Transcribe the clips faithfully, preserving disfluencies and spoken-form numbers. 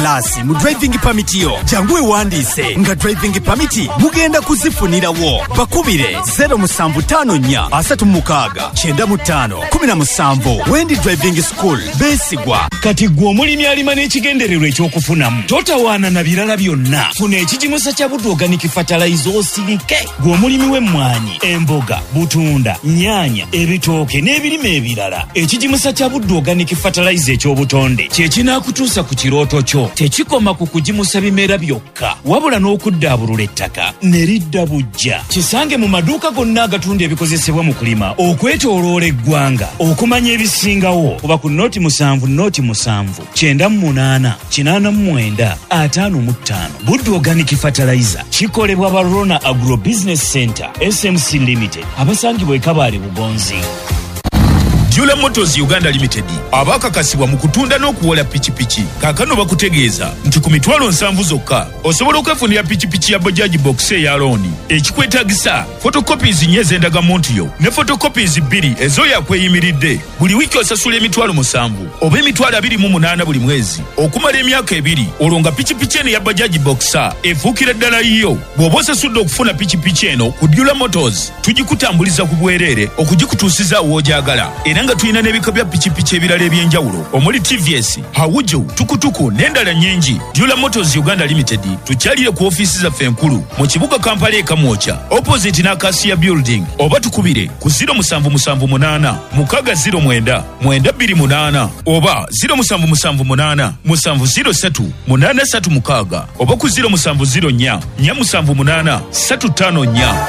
class mu driving permit yo, jangu weewandiise nga driving permit mugenda kuzifunirawo. Bakubire zero musanvu ttaano nnya asatu mu mukaaga kyenda mu ttaano kumi na musanvu. Wendi Driving School, beesigwa. Kati gwe omulimi alima n'ekigendererwa ekyokufunamu, totawaana na birala byonna. Funa ekigimusa kya Buddu Organic Fertilizer osirike. Gwe omulimi w'emmwanyi, emboga, butunda, nnyaanya, ebitooke n'ebirime ebirala, ekigimusa kya Buddu Organic Fertilizer eky'obutonde kye kinaakutuusa ku kirooto kyo. Tekikoma ku kugimusa bimera byokka, wabula n'okuddaabulula ettaka ne lidda buggya. Kisange mu maduuka gonna agatunda ebikozesebwa mu kulima okwetooloola eggwanga. Okumanya ebisingawo kuba ku noti musanvu noti musanvu kyenda mu munaana kinaana mu mwenda ataano mu ttaano. Buddu Organic Fertilizer kikolebwa ba Rona Agro Business Center S M C Limited, abasangibwa e Kabale Bugonzi. Jula Motors Uganda Limited abakakasibwa mu kutunda n'okuwola pikipiki kaakano bakutegeeza nti ku mitwalo nsanvu zokka osobola okwefunira pikipiki ya Bajaj Box eya looni. Ekikwetaagisa photocopies nnya ez'endagamuntu yo ne photocopies bbiri ez'oyo akweyimiridde. Buli wiiki osasula emitwalo musanvu oba emitwalo abiri mu munaana buli mwezi okumala emyaka ebiri, olwo nga pikipiki eno eya Bajaj Boxer efuukira ddala yiyo. Bw'oba osasudde okufuna pikipiki eno ku Jula Motors, tugikutambuliza ku bwereere okugikutuusiza w'ogyagala. Era nga tulina n'ebika bya pikipiki ebirala eby'enjawulo omuli T V S, Hawuju, tukutuku n'endala nnyingi. Jula Motors Uganda Limited tukyalire ku ofiisi zaffe enkulu mu kibuga Kampala e Kamwokya opposite n'Acacia Building, oba tukubire ku zero musanvu musanvu munaana mukaaga zero mwenda mwenda bbiri munaana oba zero musanvu musanvu munaana musanvu zero ssatu munaana ssatu mukaaga oba ku zero musanvu zero nnya nnya musanvu munaana ssatu ttaano nnya.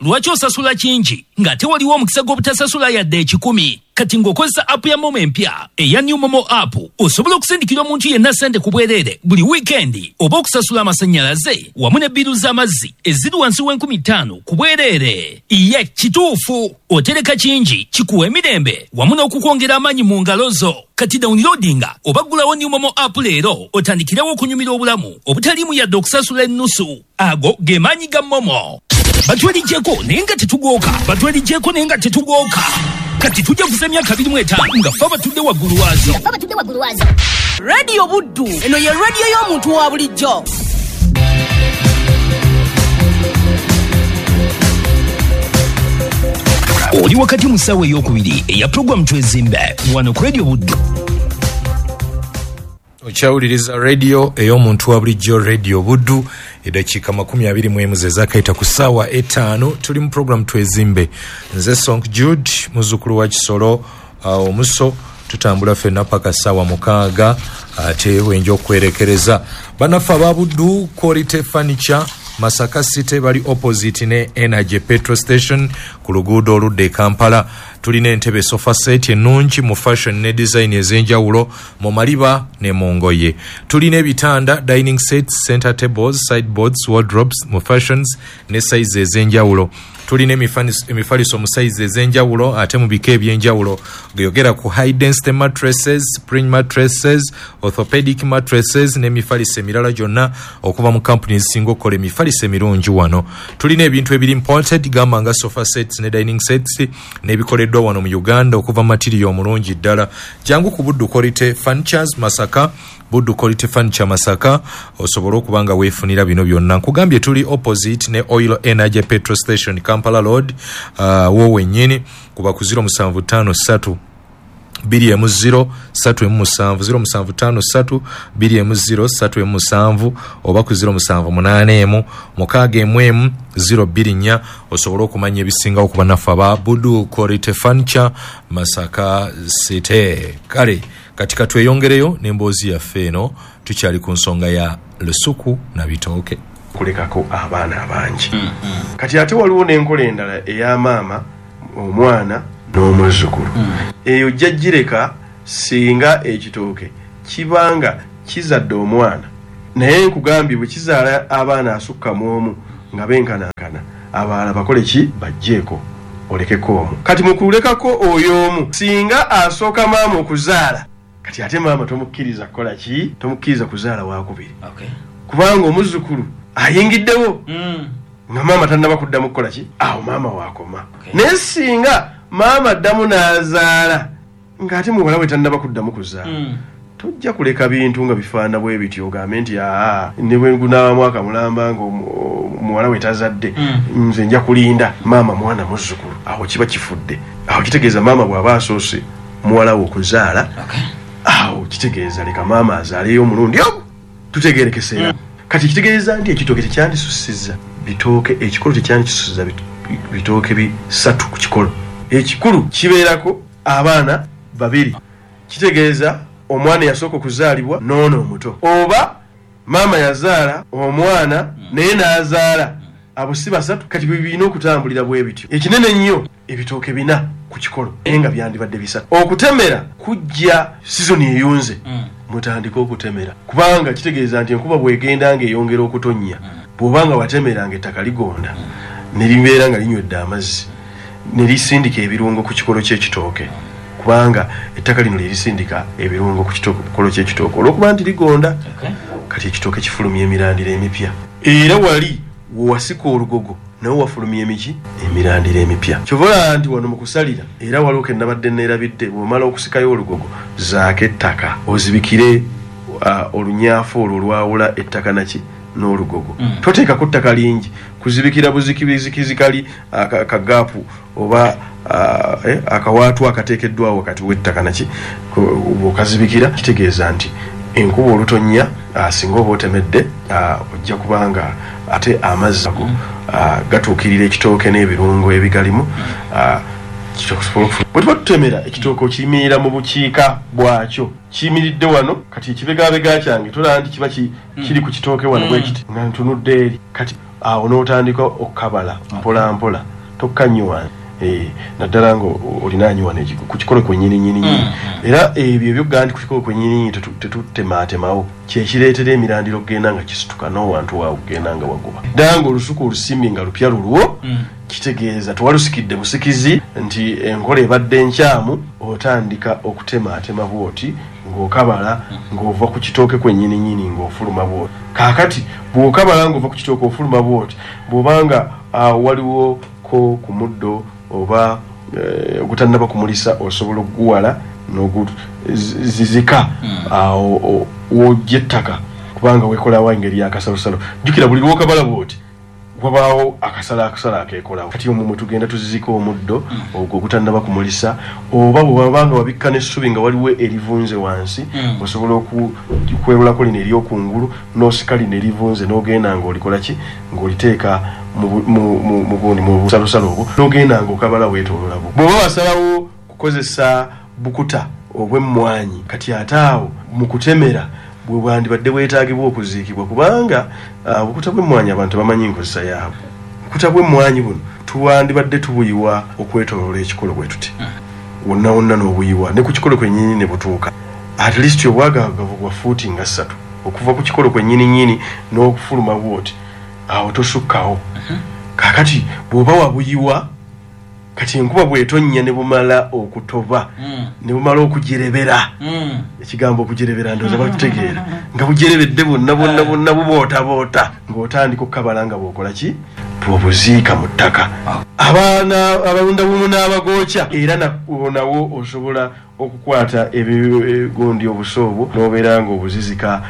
Lwaki osasula kingi ng'ate waliwo omukisa gw'obutasasula yadde ekikumi? Kati ng'okozesa app ya MoMo empya eya New MoMo app, osobola okusindikira omuntu yenna ssente ku bwereere buli wiikendi oba okusasula amasannyalaze wamu ne bbiru z'amazzi eziri wansi w'enkumi ttaano ku bwereere. Ye kituufu, otereka kingi kikuwa emirembe wamu n'okukwongera amaanyi mu ngalo zo. Kati downloadinga oba ggulawo New MoMo app leero otandikirewo okunyumira obulamu obutaliimu yadde okusasula ennusu. Ago ge maanyi ga MoMo. Batwelijjeko naye nga tetugooka, batwelijjeko naye nga tetugooka. Kati tujja kuza emyaka abiri mu etaano nga ffe abatudde waggulu waazo. Radio Buddu, eno ye radio y'omuntu wa bulijjo. Oli wakati mu ssaawa ey'okubiri eya puroguramu Twezimbe wano ku Radio Buddu. Okyawuliriza radio ey'omuntu wa bulijjo, Radio Buddu. Eddakiika makumi abiri mu emu ze zaakayita ku ssaawa etaano. Tuli mu puroguramu Twezimbe. Nze Sonk Jude, muzzukulu wa Kisolo uh, omuso. Tutambula ffenna paka ssaawa mukaaga ate wenja okwerekereza. Bannaffe aba Buddu Quality Furniture Masaka City bali opposite ne Energy Petrol Station ku luguudo oludda e Kampala. Tulina entebe sofa set ennungi mu fashion ne design ez'enjawulo mu maliba ne mu ngoye. Tulina ebitanda, dining sets, center tables, sideboards, wardrobes mu fashions ne size ez'enjawulo. Tulina emifaliso mu size ez'enjawulo ate mu bika eby'enjawulo. Geyogera ku high density mattresses, spring mattresses, orthopedic mattresses n'emifaliso emirala gyonna okuva mu companies ezisinga okukola emifaliso emirungi wano. Tulina ebintu ebiri imported gamba nga sofa sets ne dining sets n'ebikoleddwa wano mu Uganda okuva material omulungi ddala. Jangu ku Buddu Quality Furnitures Masaka, Buddu Quality Furniture Masaka, osobola okuba nga weefunira bino byonna. Nkugambye tuli opposite ne Oil Energy Petrol Station Kampala Road, uh, wo wennyini kuba ku zero musanvu ttaano ssatu bbiri emu zero ssatu emu musanvu, zero musanvu ttaano ssatu bbiri emu zero ssatu emu musanvu oba ku zero musanvu munaana emu mukaaga emu emu zero bbiri nnya osobola okumanya ebisingawo ku bannaffe aba Buddu Quality Furniture Masaka City. Kale kati katweyongereyo n'emboozi yaffe eno, tukyali ku nsonga ya lusuku na bitooke. Kulekako abaana abangi. Mm -hmm. Kati ate waliwo n'enkola endala eya maama, omwana n'omuzzukulu. Mm. Eyo jjajjireka singa ekitooke kibanga kizadde omwana, naye nkugambye bwe kizaala abaana asukka mu omu nga benkanankana, abalala bakole ki? Bajjeeko olekeko omu. Kati mu kulekako oyo omu, singa asooka maama okuzaala, kati ate maama tomukkiriza kukola ki? Tomukkiriza kuzaala wakubiri. Okay. Kubanga omuzzukulu ayingiddewo mm. nga maama tannaba kuddamu kukola ki? Awo maama waakoma. Okay. Naye singa maama addamu n'azaala ng'ate muwala we tannaba kuddamu kuzaala, mm. Tojja kuleka bintu nga bifaana bwe bityo ogambe nti aa ne bwe gunaaba mwaka mulamba ng'omuwala we tazadde, nze nja kulinda maama mwana muzzukulu. Awo kiba kifudde. Awo kitegeeza maama bw'aba asoose muwala we okuzaala, awo kitegeeza leka maama azaaleyo omulundi ogwo tutegeerekeseera. Kati kitegeeza nti ekitooke tekyandisussizza bitooke, ekikolo tekyandikisussizza bitooke bisatu ku kikolo. Ekikulu kibeerako abaana babiri, kitegeeza omwana yasooka okuzaalibwa n'ono omuto, oba maama yazaala omwana naye n'azaala, abo si basatu. Kati bwe birina okutambulira bwe bityo. Ekinene ennyo ebitooke bina ku kikolo naye nga byandibadde bisatu. Okutemera kujja sizoni eyunze, mutandike okutemera, kubanga kitegeeza nti enkuba bw'egenda ng'eyongera okutonnya, bw'oba nga watemeranga ettaka ligonda ne libeera nga linywedde amazzi ne lisindika ebirungo ku kikolo ky'ekitooke, kubanga ettaka lino lye lisindika ebirungo ku kikolo ky'ekitooke olw'okuba nti ligonda. Kati ekitooke kifulumya emirandira emipya, era wali wewasika olugogo nawe wafulumya emiki emirandira emipya. Kyova olaba nti wano mu kusalira era waliwo ke nabadde neerabidde, bw'omala okusikayo olugogo zaako ettaka ozibikire uh, olunyaafu olwo olwawula ettaka naki n'olugogo. mm. Toteekako ttaka lingi kuzibikira buzikibizikizi kali akagaapu oba uh, eh, akawaatu akateekeddwawo wakati w'ettaka naki. Bw'okazibikira kitegeeza nti enkuba olutonnya, uh, singa oba otemedde, uh, ojja kubanga ate amazzi ago uh, gatuukirira ekitooke n'ebirungo ebigalimu. uh, bwe tuba tutemera ekitooke, okiyimirira mu bukiika bwakyo, kiyimiridde wano. Kati ekibegabega kyange tolaba nti kiba kiri ku kitooke wano bwe kiti nga ntunudde eri. Kati awo n'otandika okukabala mpola mpola, tokka nnyo wansi, naddala nga olinaanyi wano ku kikolo kwennyini nnyini nnyini. Era ebyo ebyokugamba nti ku kikolo kwennyini nnyini tetutematemawo, kyekireetera emirandiro okugenda nga kisituka n'owantu waawe okugenda nga waguba. Ddala nga olusuku olusimbye nga lupya lulwo, kitegeeza tewalusikidde busikizi nti enkola ebadde nkyamu. Otandika okutematema bwoti ng'okabala ng'ova ku kitooke kwennyini nnyini ng'ofuluma bwoti. Kaakati bw'okabala ng'ova ku kitooke ofuluma bwoti, bw'obanga waliwo ko ku muddo oba ogutannaba kumulisa, osobola okuguwala n'oguzizika awo w'ojja ettaka, kubanga weekolawo engeri y'akasalosalo. Jjukira buli lw'okabala bwoti wabaawo akasala akasala akeekolawo. Kati omwo mwe tugenda tuzizika omuddo ogwo ogutannaba kumulisa, oba bw'obanga wabikka n'essubi nga waliwo erivunze wansi, osobola okwerulako lino eryokungulu n'osika lino erivunze n'ogenda ng'olikola ki, ng'oliteeka mu gundi mu busalosalo obwo n'ogenda ng'okabala weetoolola bwo. Bw'oba wasalawo kukozesa bukuta obw'emmwanyi, kati ate awo mu kutemera bwe bwandibadde bwetaagibwa okuziikibwa, kubanga obukuta bw'emmwanyi abantu bamanyi nkozesa yaabwe. Obukuta bw'emmwanyi buno tuwandibadde tubuyiwa okwetooloola ekikolo bwe tuti wonna wonna, n'obuyiwa ne ku kikolo kwennyini ne butuuka at least obwagaagavu bwa fuuti nga ssatu okuva ku kikolo kwennyini nnyini n'okufuluma bwoti, awo tosukkawo. Kaakati bw'oba wabuyiwa, kati enkuba bw'etonnya ne bumala okutoba ne bumala okujerebera, ekigambo okujerebera ndowooza bakitegeera, nga bujerebedde bwonna bwonna bwonna bubootaboota, ng'otandika okukabala nga bw'okola ki, bw'obuziika mu ttaka. Abaana abalunda bumu n'abagookya era nawo osobola okukwata ebigundi obuso obwo n'obeera ng'obuzizika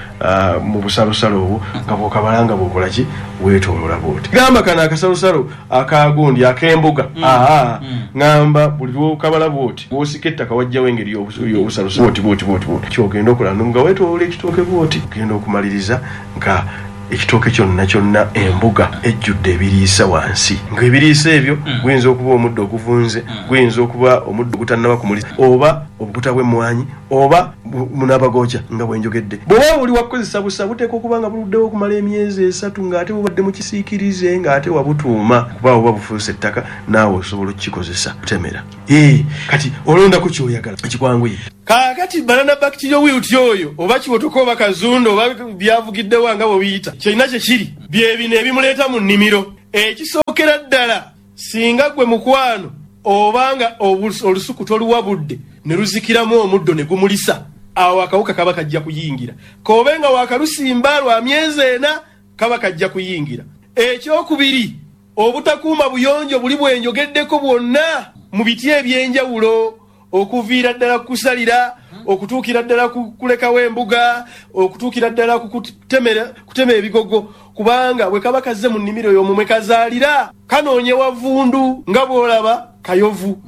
mu busalosalo obwo nga bw'okabala nga bw'okola ki, weetooloola bw'oti. Gamba kano akasalosalo akagundi ak'embuga, aa ŋŋamba buli lw'okabala bw'oti bw'osika ettaka wajjawo engeri y'obusalosalo bw'oti bw'oti bw'oti bw'oti ky'ogenda okola nga weetooloola ekitooke bw'oti, ogenda okumaliriza nga ekitooke kyonna kyonna embuga ejjudde ebiriisa wansi, ng'ebiriisa ebyo guyinza okuba omuddo oguvunze, guyinza okuba omuddo ogutannaba kumulisa, oba obukuta bw'emmwanyi, oba munaabagooca nga bwe njogedde. Bw'oba oli wakukozesa busa, buteekwa okuba nga buluddewo okumala emyezi esatu ng'ate bubadde mu kisiikirize ng'ate wabutuuma, kuba buba bufuuse ettaka naawe osobola okukikozesa kutemera. Ee, kati olondako ky'oyagala ekikwanguye. Kaakati banana bacterial wilt oyo oba kiwotoka oba kazunda oba byavugiddewo nga bwe biyita, kyolina kye kiri bye bino ebimuleeta mu nnimiro. Ekisookera ddala, singa gwe mukwano obanga olusuku toluwa budde ne luzikiramu omuddo ne gumulisa, awo akawuka kaba kajja kuyingira. K'obe nga wakalusimba lwa myezi ena, kaba kajja kuyingira. Ekyokubiri, obutakuuma buyonjo buli bwenjogeddeko bwonna mu biti ebyenjawulo, okuviira ddala kusalira, okutuukira ddala ku kulekawo embuga, okutuukira ddala ku kutemera kutema ebigogo, kubanga bwe kaba kazze mu nnimiro y'omumwe kazaalira kanoonye wavundu nga bw'olaba kayovu.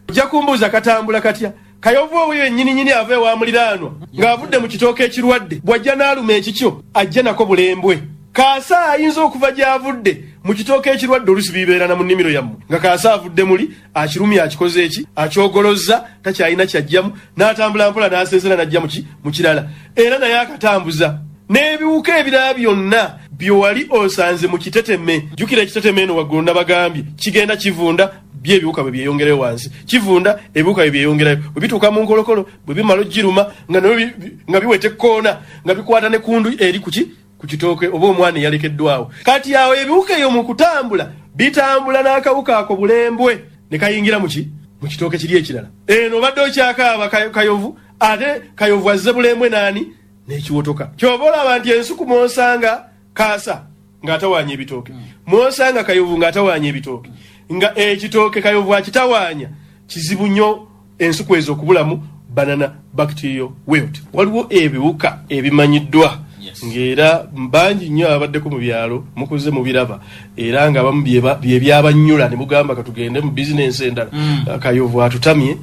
Ojja kumbuuza katambula katya? Kayovu oyo yennyini ava ewa muliraanwa ng'avudde mu kitooke ekirwadde, bw'ajja n'aluma ekikyo ajja nako bulembwe. Kaasa ayinza okuva gy'avudde mu kitooke ekirwadde, oluusi bibeera na mu nnimiro yammwe, nga kaasa avudde muli akirumya akikoze eki akyogolozza takyalina kyajjamu, n'atambula mpola n'asensera n'ajja mu kirala, era naye akatambuza. N'ebiwuka ebirala byonna byewali osanze mu kiteteme, jjukira ekiteteme eno waggulu nabagambye kigenda kivunda, bye ebiwuka bwe byeyongerayo wansi, kivunda ebiwuka bwe byeyongerayo, bwe bituuka mu nkolokolo bwe bimala ogiruma nga nabyo nga biweta ekkoona nga bikwata ne kundu eri kuki ku kitooke oba omwana eyalekeddwawo. Kati awo ebiwuka eyo mu kutambula bitambula n'akawuka ako bulembwe ne kayingira muki mu kitooke kiri ekirala. Eno obadde okyakaaba kayovu, ate kayovu azze bulembwe naani n'ekiwotoka. Ky'oba olaba nti ensuku mw'osanga kaasa ng'atawaanya ebitooke, mw'osanga kayovu ng'atawaanya ebitooke, nga ekitooke kayovu akitawaanya, kizibu nnyo ensuku ezo okubulamu banana bacterial wilt. Waliwo ebiwuka ebimanyiddwa ng'era bangi nnyo ababaddeko mu byalo mukuze mubiraba, era nga abamu bye byabanyula ne mugamba katugende mu bizinensi endala. Kayovu atutamye,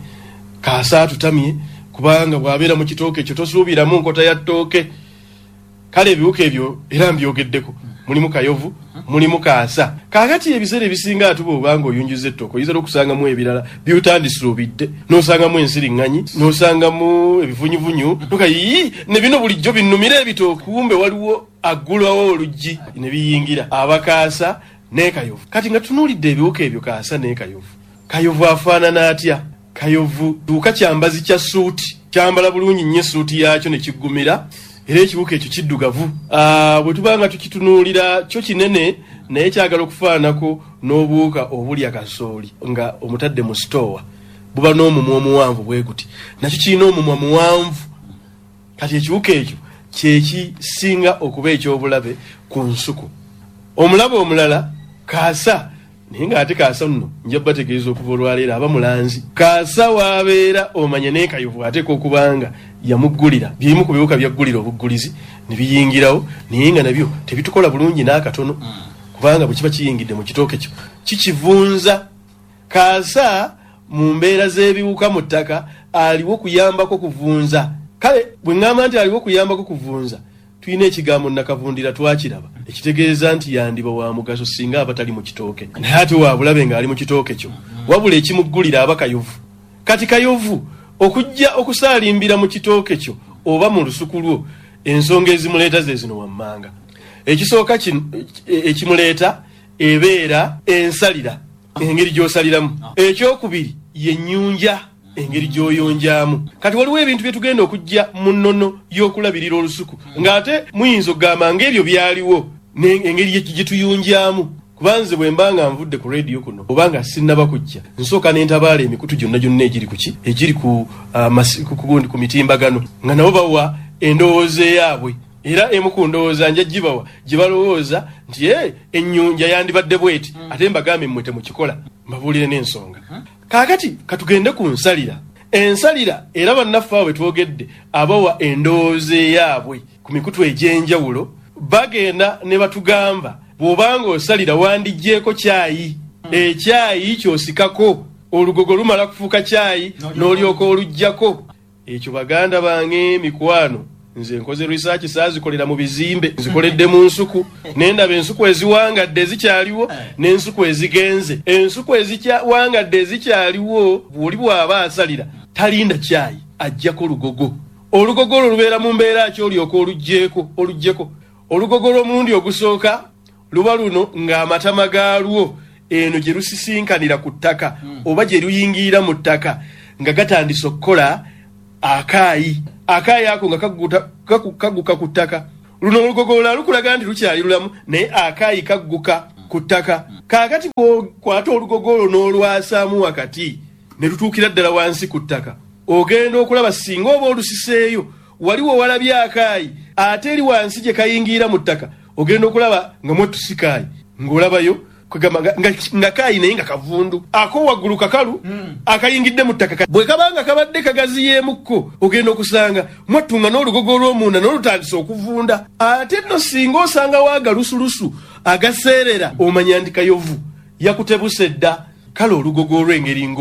kaasa atutamye, kubanga bw'abeera mu kitooke ekyo tosuubiramu nkota ya ttooke. Kale ebiwuka ebyo era mbyogeddeko, mulimu kayovu, mulimu kaasa. Kaakati ebiseera ebisinga atuba obanga oyunjuza ettooke oyinza n'okusangamu ebirala by'otandisuubidde, n'osangamu ensiriŋŋanyi, n'osangamu ebivunyuvunyu, noka yii ne bino bulijjo binnumira ebitooke, kumbe waliwo aggulawo oluggi ne biyingira abakaasa ne kayovu. Kati nga tunuulidde ebiwuka ebyo kaasa ne kayovu, kayovu afaanana atya? Kayovu kiwuka kyambazi kya ssuuti, kyambala bulungi nnyo essuuti yaakyo ne kiggumira, era ekiwuka ekyo kiddugavu. Bwe tuba nga tukitunuulira kyo kinene, naye kyagala okufaananako n'obuwuka obulya kasooli nga omutadde mu sitoowa, buba n'omumwa omuwanvu bwe guti, nakyo kirina omumwa muwanvu. Kati ekiwuka ekyo kye kisinga okuba eky'obulabe ku nsuku. Omulabe omulala kaasa, naye ng'ate kaasa nno nja bategeeza okuva olwaleero aba mulanzi. Kaasa w'abeera omanya ne kayovu ateekwa okuba nga yamuggulira, byerimu ku biwuka byaggulira obuggulizi ne biyingirawo, naye nga nabyo tebitukola bulungi n'akatono, kubanga bwe kiba kiyingidde mu kitooke kyo kikivunza. Kaasa mu mbeera z'ebiwuka mu ttaka aliwo kuyambako kuvunza. Kale bwe ŋŋamba nti aliwo kuyambako kuvunza, tulina ekigambo nnakavundira twakiraba, ekitegeeza nti yandiba wa mugaso singa aba tali mu kitooke, naye ate wa bulabe ng'ali mu kitooke kyo, wabula ekimuggulira aba kayovu. Kati kayovu okujja okusaalimbira mu kitooke kyo oba mu lusuku lwo, ensonga ezimuleeta ze zino wammanga. Ekisooka ekimuleeta ebeera ensalira, engeri gy'osaliramu. Ekyokubiri ye nnyunja, engeri gy'oyonjaamu. Kati waliwo ebintu bye tugenda okujja mu nnono y'okulabirira olusuku, ng'ate muyinza okugamba ng'ebyo byaliwo engeri gye tuyunjaamu. Kuba nze bwe mba nga nvudde ku rediyo kuno oba nga sinnaba kujja, nsooka ne ntabaala emikutu gyonna gyonna egiri ku ki egiri ku uh, ku mitimbagano, nga nabo bawa endowooza eyaabwe. Era emu ku ndowooza nja gibawa gye balowooza nti e ennyunja yandibadde bweti, ate mbagambe mmwe temukikola, mbabuulire n'ensonga. Kaakati katugende ku nsalira. Ensalira era bannaffe abo bwe twogedde abawa endowooza eyaabwe ku mikutu egy'enjawulo, bagenda ne batugamba bw'obanga osalira wandiggyeeko kyayi, ekyayi ky'osikako olugogo lumala kufuuka kyayi n'olyoka oluggyako. Ekyo baganda bange mikwano, nze nkoze research saazikolera mu bizimbe, nzikoledde mu nsuku, nendaba ensuku eziwangadde ezikyaliwo n'ensuku ezigenze. Ensuku eziwangadde ezikyaliwo bw'oli bw'aba asalira talinda kyayi, ajjako lugogo. Olugogo olwo lubeera mu mbeera ki olyoka oluggyeko oluggyeko? Olugogo lw'omulundi ogusooka luba luno ng'amatama gaalwo eno gye lusisinkanira ku ttaka oba gye luyingirira mu ttaka nga gatandise okukola akaayi. Akaayi ako nga kagguka ku ttaka. Luno olugogo olulala lukulaga nti lukyali lulamu, naye akaayi kagguka ku ttaka. Kaakati bw'okwata olugogo olwo n'olwasaamu wakati ne lutuukira ddala wansi ku ttaka, ogenda okulaba singa oba olusiseeyo waliwo walabye akaayi, ate eri wansi gye kayingirira mu ttaka ogenda okulaba nga mwetusikaayi ng'olabayo Kwegamba nga, nga, nga kaayi naye nga kavundu, ako waggulu kakalu mm. akayingidde mu ttaka. Bwe kabanga kabadde kagaziyeemukko, ogenda okusanga mwattunga n'olugogo olw'omunda n'olutandise okuvunda. Ate nno singa osangawo agalusulusu agaseerera, omanya nti kayovu yakutebuse dda. Kale olugogo olw'engeri ngo